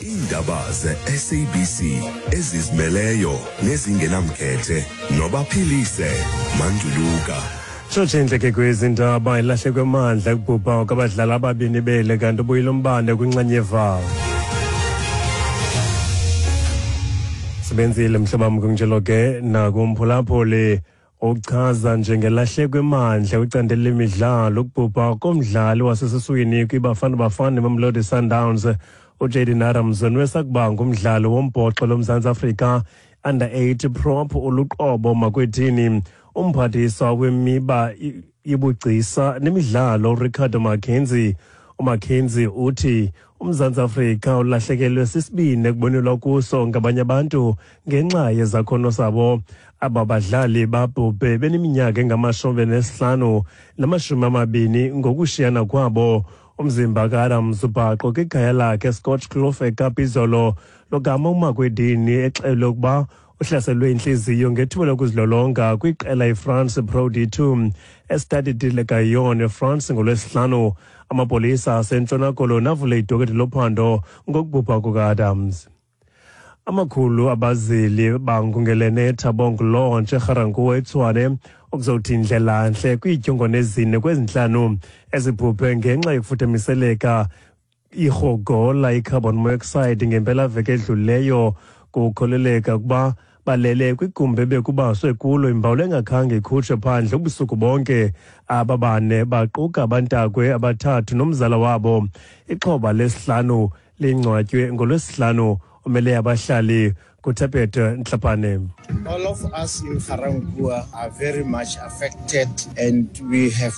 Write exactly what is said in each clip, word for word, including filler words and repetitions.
Iindaba ze-S A B C ezizimeleyo nezingenamkhethe nobaphilise Manduluka. Tshotshe ke kwezindaba ilahlekwe mandla kubhubha kwabadlali ababini bele kanti ubuyile umbane kwinxenye. Sebenzile mhlobo kunjalo ke nakumphulaphuli ochaza njengelahlekwe mandla kwicandelo lemidlalo ukubhubha komdlali wasesiswini kwiBafana Bafana Mamelodi Sundowns uJayden Adams nowesakuba ngumdlali wombhoxo loMzantsi Afrika under eight prop uluqobo makwethini. Umphathiswa wemiba yobugcisa nemidlalo Ricardo Mackenzie uMackenzie uthi uMzantsi Afrika ulahlekelwe sisibini ekubonelwa kuso ngabanye abantu ngenxa yezakhono sabo. Aba badlali babhubhe beneminyaka engamashumi nesihlanu namashumi amabini ngokushiyana kwabo. Umzimba kaAdams ubhaqo kwikhaya lakhe Scotch Kloof eKapa izolo logama uMakwedini exelwe ukuba uhlaselwe intliziyo ngethuba lokuzilolonga kwiqela iFrance Pro D two eStade de la Gaillon eFrance ngolwesihlanu. Amapolisa aseNtshona Koloni avule idoketi lophando ngokubhubha kukaAdams. Amakhulu abazili bangungelene eThabong Lodge eGarankuwa eTshwane ukuzothi indlela ntle kwiidyongwane ezine kwezintlanu ezibhubhe ngenxa yokufuthamiseleka irhogola i-carbon monoxide ngempelaveki edlulileyo. Kukholeleka ukuba balele kwigumbi ebekubaswe kulo imbawula engakhange ikhutshwe phandle ubusuku bonke. Aba bane baquka abantakwe abathathu nomzala wabo. Ixhoba lesihlanu lingcwatywe ngolwesihlanu. Umele abahlali kuThapete Ntlapane. All of us in Garankuwa are very much affected and we have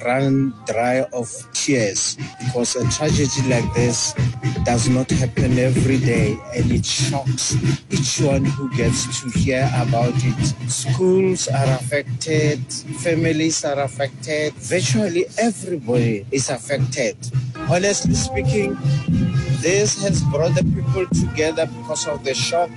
run dry of tears because a tragedy like this does not happen every day and it shocks each one who gets to hear about it. Schools are affected, families are affected, virtually everybody is affected. Honestly speaking, this has brought the people together because of the shock.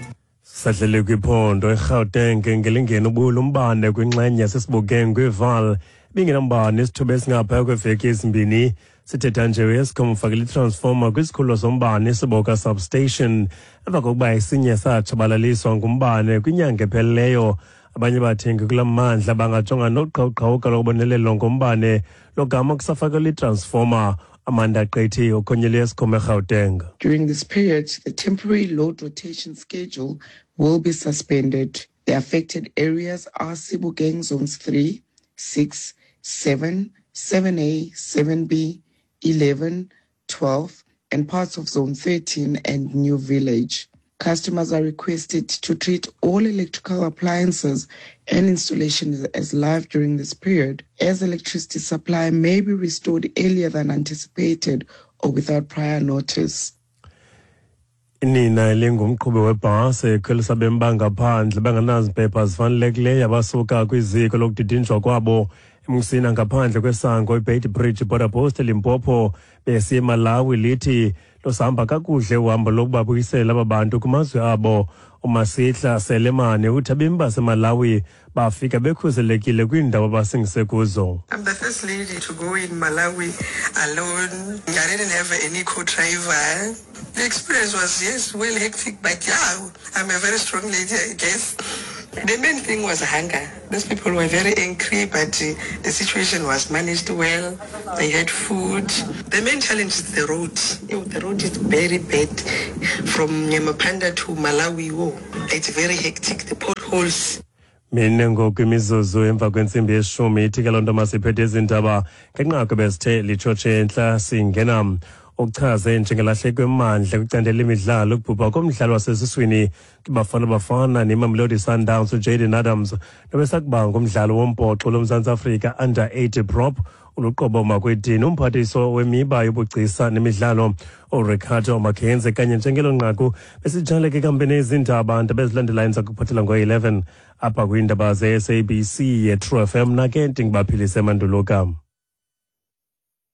Sadlele kwiphondo eGauteng ngelingeni ubulo umbane kwinxenye yasesibukeng kwiVaal bingenambane isithuba esingaphaya kweveki ezimbini. Sithetha nje uEskom ufakele itransformer kwisikhululo sombane isiboka substation emva kokuba esinye satshabalaliswa ngumbane kwinyanga ephelileyo. Abanye bathengi kula mandla bangajonga noqhawuqhawuka lokubonelelo ngombane logama kusafakelwa itransformer. Amanda Qethi okhonyele Eskom eGauteng. During this period, the temporary load rotation schedule will be suspended. The affected areas are Sebokeng zones three, six, seven, seven A, seven B, eleven, twelve, and parts of zone thirteen and New Village. Customers are requested to treat all electrical appliances and installations as live during this period, as electricity supply may be restored earlier than anticipated or without prior notice. Inina elingumqhubi webhasi ekhwelisa abemi bangaphandle bengenazimpepha zifanelekileyo abasuka kwiziko lokudidinjwa kwabo eMusina ngaphandle kwesango iBeitbridge Border Post eLimpopo besiya eMalawi lithi losihamba kakuhle uhambo lokubabuyisela aba bantu kumazwe abo. uMasihla Selemane uthi abemi baseMalawi bafika bekhuselekile kwiindawo abasingise kuzo. I'm the first lady to go in Malawi alone. I didn't have any co-driver. The experience was, yes, well hectic, but yeah, I'm a very strong lady, I guess. The main thing was hunger. Those people were very angry, but uh, the situation was managed well. They had food. The main challenge is the road. The road is very bad. From Nyamapanda to Malawi, oh, it's very hectic, the potholes. Mine ngoku imizuzu emva kwentsimbi yeshumi ithi ke loo nto masiphethe izindaba ngenqaku besithe litshotshe entla singena. Uchaze njengelahleko emandla kwicandelo lemidlalo ukubhubha komdlali wasesiswini kwiBafana Bafana neMamelodi Sundowns uJayden Adams nobesakuba ngumdlali wombhoxo loMzantsi Afrika under eight prop uluqobo Makwedini. Umphathiswa wemiba yobugcisa nemidlalo uRicardo Mackenzie kanye njengelo nqaku besijale ke kampeni izindaba nto bezilandelayo ndiza kuphathela ngo-eleven apha kwiindaba ze-S A B C ye-True F M nake ndingibaphilise Manduluka.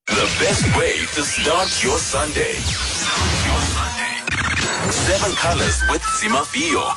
The best way to start your Sunday. Your Sunday. Seven Colors with Zimafio.